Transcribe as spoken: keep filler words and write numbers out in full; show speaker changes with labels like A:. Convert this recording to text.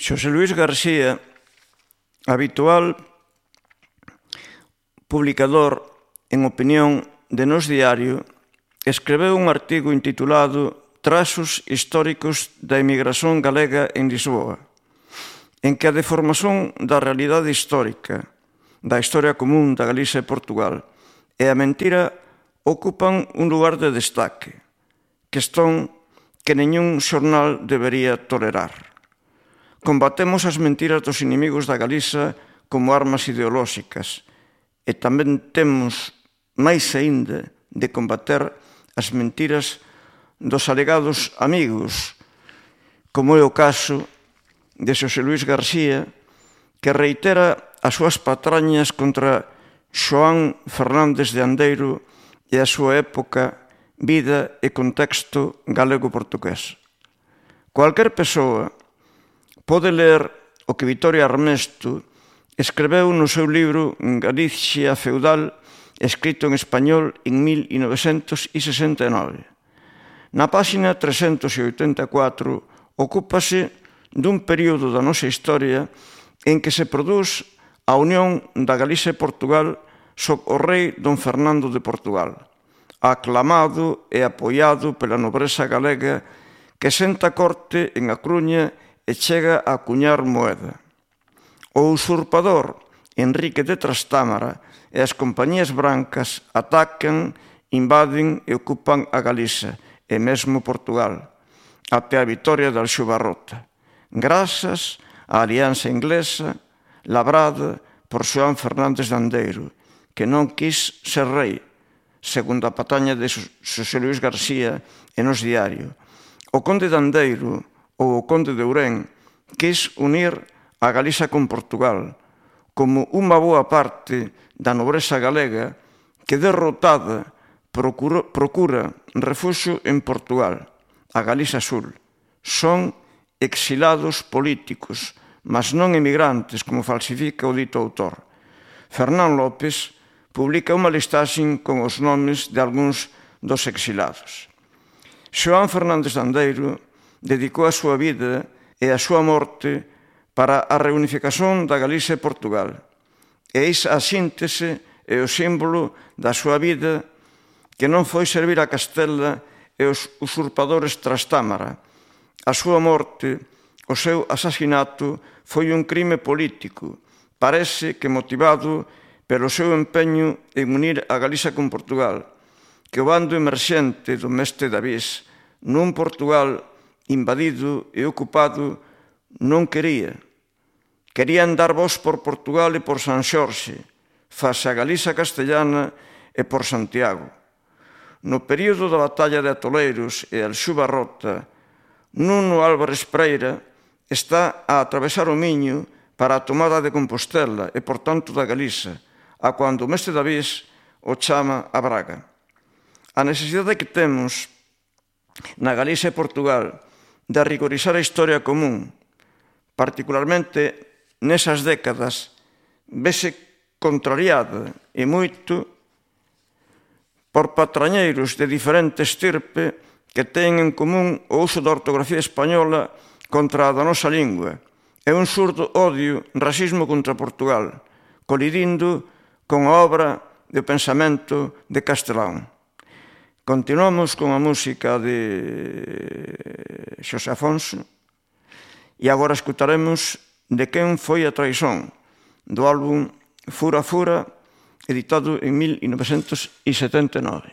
A: Xosé Luís García, habitual publicador en opinión de Nós Diario, escreveu un artigo intitulado Trazos históricos da emigración galega en Lisboa, en que a deformación da realidade histórica, da historia común da Galiza e Portugal e a mentira ocupan un lugar de destaque, questón que ningún xornal debería tolerar. Combatemos as mentiras dos inimigos da Galiza como armas ideolóxicas e tamén temos máis aínda de combater as mentiras dos alegados amigos, como é o caso de Xosé Luís García, que reitera as súas patrañas contra Xoán Fernández de Andeiro e a súa época, vida e contexto galego-portugués. Cualquer persoa pode ler o que Vitoria Armesto escreveu no seu libro Galicia feudal, escrito en español en mil novecentos sesenta e nove. Na páxina trescentos oitenta e catro ocúpase dun período da nosa historia en que se produz a unión da Galicia e Portugal sob o rei don Fernando de Portugal, aclamado e apoiado pela nobreza galega que senta corte en A Coruña e chega a acuñar moeda. O usurpador Enrique de Trastámara e as compañías brancas atacan, invaden e ocupan a Galiza e mesmo Portugal, até a vitoria de Alxubarrota, grazas á alianza inglesa labrada por Xoán Fernández de Andeiro, que non quis ser rei, segundo a pataña de Xosé Luís García e Nós Diario. O conde de Andeiro ou o conde de Ourén quis unir a Galiza con Portugal, como unha boa parte da nobreza galega que, derrotada, procura, procura refuxo en Portugal, a Galiza Sur. Son exilados políticos, mas non emigrantes, como falsifica o dito autor. Fernán López publica unha listaxe con os nomes de algúns dos exilados. Xoán Fernández de Andeiro dedicou a súa vida e a súa morte para a reunificación da Galiza e Portugal. E eis a síntese e o símbolo da súa vida, que non foi servir a Castela e os usurpadores Trastámara. A súa morte, o seu asasinato, foi un crime político, parece que motivado pelo seu empeño en unir a Galiza con Portugal, que o bando emerxente do mestre Davís, nun Portugal invadido e ocupado, non quería. Querían dar voz por Portugal e por San Xorxe, face a Galiza castellana e por Santiago. No período da batalla de Atoleiros e Alxubarrota, Nuno Álvarez Preira está a atravesar o Miño para a tomada de Compostela e, por tanto, da Galiza, a cando o mestre Davís o chama a Braga. A necesidade que temos na Galiza e Portugal de rigorizar a historia común, particularmente nesas décadas, vese contrariada e moito por patrañeiros de diferente estirpe que teñen en común o uso da ortografía española contra a da nosa lingua e un surdo odio, racismo contra Portugal, colidindo con a obra de pensamento de Castelán. Continuamos con a música de Xosé Afonso e agora escutaremos De quen foi a traizón, do álbum Fura Fura, editado en mil novecentos setenta e nove.